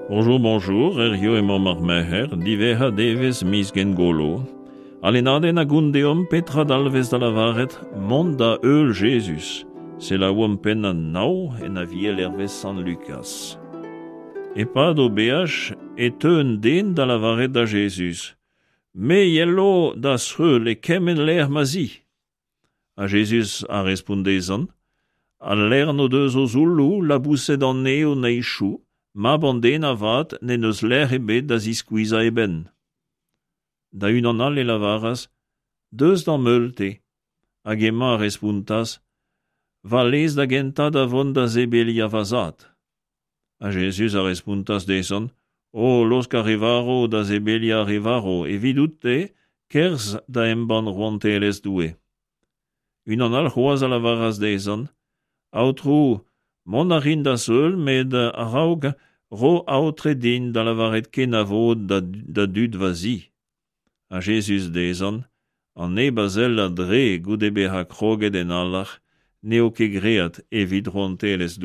Bonjour, bonjour, hiziv emaomp ar Merc'her, diwezhañ devezh miz Gengolo. Al lennadenn a gont deomp petra dalvez da lavaret mont da heul Jezuz. Selaouomp pennad nav en Aviel hervez Sant Lukaz. E-pad o beaj e teu un den da lavaret da Jezuz Me yelo d'az heul e kement lec'h ma 'z i. Ha Jezuz a respont dezhañ, Al lern o deus o zoulloù, laboused an neñv o neizhioù, mab an den avat n'en deus lec'h ebet da ziskuizhañ e benn. Da unan all e lavaras, Deus d'am heul-te. Hag hemañ a respontas, Va lez da gentañ da vont da sebeliañ va zad. Ha Jezuz a respontas dezhañ, O laosk ar re varv da sebeliañ ar re varv, evidout-te, kerzh da embann rouantelezh Doue. Unan all c'hoazh a lavaras dezhañ, Aotrou, mont a rin d'az heul, met a-raok ro aotre din da lavaret kenavo da, da dud va zi. Ha Jezuz dezhañ, An neb a sell a-dre goude bezañ kroget en alar, n'eo ket graet evit rouantelezh Doue.